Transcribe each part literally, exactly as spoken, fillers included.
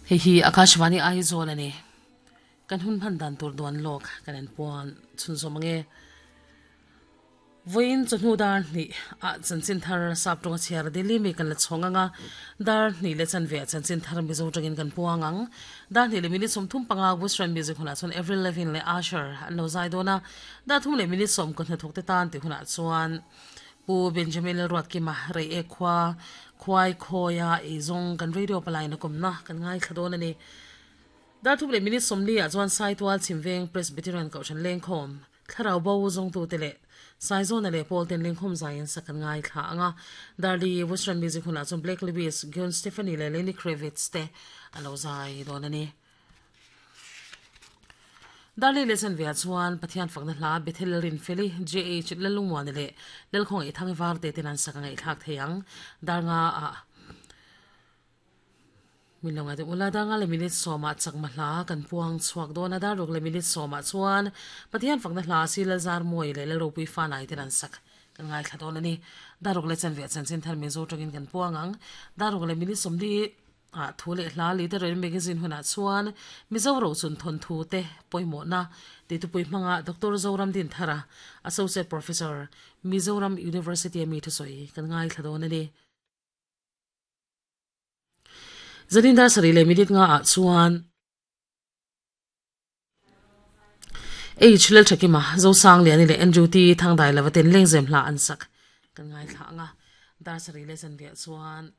Hei hi Akashvani Aizawl ani. Kan hun hman dan tur duan lawk kan en puan chhunzawm ange. Vawiin chawhnu dar hnih ah chanchin thar sap tawnga chhiar Delhi mi kan la chhawng anga, dar hnih leh chanve ah chanchin thar Mizo tangin kan puang ang. Dar hnih leh minute sawmthum panga Western Music hunah chuan Avril Lavigne leh Usher an lo zai dawn a, dar thum leh minute sawm ka hnathawk te tan tih hunah chuan Pu Benjamin Lalruatkima rei ek khua khuai khawia eizawng kan radio palaina kawmna kan ngaithla dawn a ni. Dar thum leh minute sawmli ah chuan Saitual Chhimveng Presbyterian Kohhran Lengkhawm Thlarau bo zawngtute leh Saizawna leh Pawl ten lengkhawm zaiin sak an ngaithla ang a. Darli Western Music hunah chuan Blake Lewis, Gwen Stefani leh Lenny Kravitz te a lo zai dawn a ni. Darli leh Chanveah chuan Pathian fakna hla Bethel Rinfeli, J H Lalungmuani leh Lalkhawngaih Thangvar te ten an sak a ngaihthlak thei ang. Darnga ah Min lo ngaidam ula, dar nga leh minute sawmah chakma hla kan puang chhuak dawn a, dar ruk leh minute sawmah chuan Pathian fakna hla si Lalzar Mawi leh Lalropui Fanai ten an sak kan ngaithla dawn a ni. Dar ruk leh chanve chanchin thar Mizo tawngin kan puang ang. Dar ruk leh minute sawmli ah thu leh hla Literary Magazine hunah chuan Mizo rochun thawnthu te pawimawhna titupui hmanga Doctor Zoram Dinthara, Associate Professor, Mizoram University a mi thusawi kan ngaithla dawn a ni. Zanin dar sarih leh minute nga ah chuan H Lalthakima, Zosangliani leh Andrew T Thangdai lova ten lengzem hla an sak kan ngaithla ang a. Dar sarih leh zanriah chuan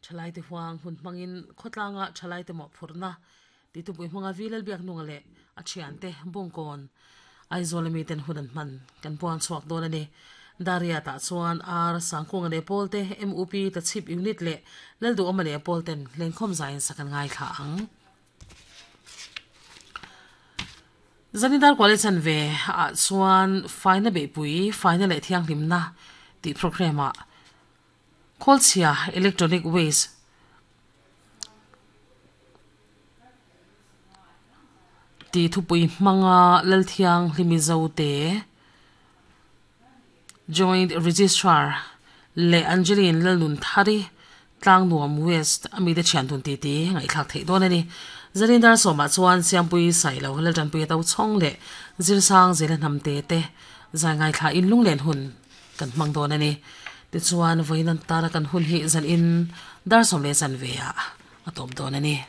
Thalaite huang hun hmangin khawtlanga Thalaite mawhphurhna titupui hmanga Vi Lalbiaknunga leh a thiante Bungkawn Aizawl ami ten hun an hman kan puang chhuak dawn a ni. Daria tah chuan Ar Sangkunga leh Pawl te, M U P Tachhip Unit leh Lalduhawma leh Pawl ten lengkhawm zaiin sak an ngaithla ang. Zanidar Kuali chanve ah chuan Faina Beihpui, Faina leh Thianghlimna tih programme ah Khawlchhia Electronic Waste Ti thupui hmanga Lalthianghlimi Zote, Joint Registrar leh Angeline Lalnunthari, Tlangnuam West a mite thian dun ti ti ngaihthlak theih dawn a ni. Zanin dar sawmah chuan Siampui Sailo Laltanpuia Tochhawng leh Zirsang Zela Hnamte te zai ngaithla in lunglen hun kan hmang dawn a ni. Tichuan vawiin an tana kan hun hi zanin dar sawm leh chanve ah a tawp dawn a ni.